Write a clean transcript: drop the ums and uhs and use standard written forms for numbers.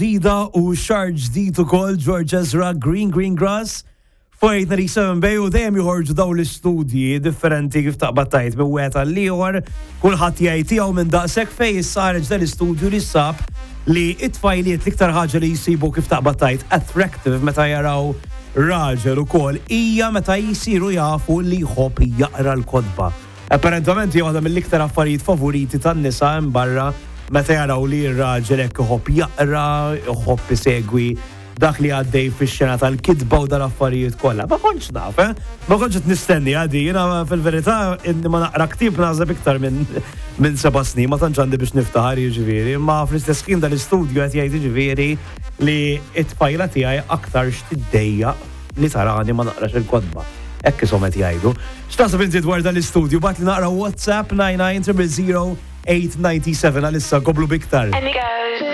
Ġdida u xahar ġdid ukoll George Ezra Green Green Grass 4897 Bay u dejjem joħorġu dawn l-istudji differenti kif taqbad tajt minn wieħed għal ieħor, kulħadd jgħid tiegħu minn daqshekk fejn issa ħareġ dan l-istudju li sab li t-tfajliet l-iktar ħaġa li jsibu kif taqbad tajt attractive meta jaraw raġel ukoll hija meta jsiru jafu li jħobb jaqra l-kotba. Apparentament hija waħda mill-iktar affarijiet favoriti tan-nisa hemm barra meta jaraw li r-raġel hekk iħobb jaqra, iħobb isegwi dak li għaddej fix-xena tal-kitba u dal-affarijiet kollha. Ma kontx naf, eh? Ma kontx qed nistenni għadi, jiena fil-verità inni ma naqra ktieb naħseb iktar minn minn seba' snin, ma tantx għandi biex niftaħar jiġifieri, imma fl-istess ħin dal-istudju qed jgħid jiġifieri li t-tfajla tiegħi aktarx tiddejjaq li tarani ma naqrax il-kotba. Hekk ishom qed jgħidu. X'taħseb inti dwar dan l-istudju? Bagħatli naqra WhatsApp 99 000 897 għalissa nkomplu b'iktar.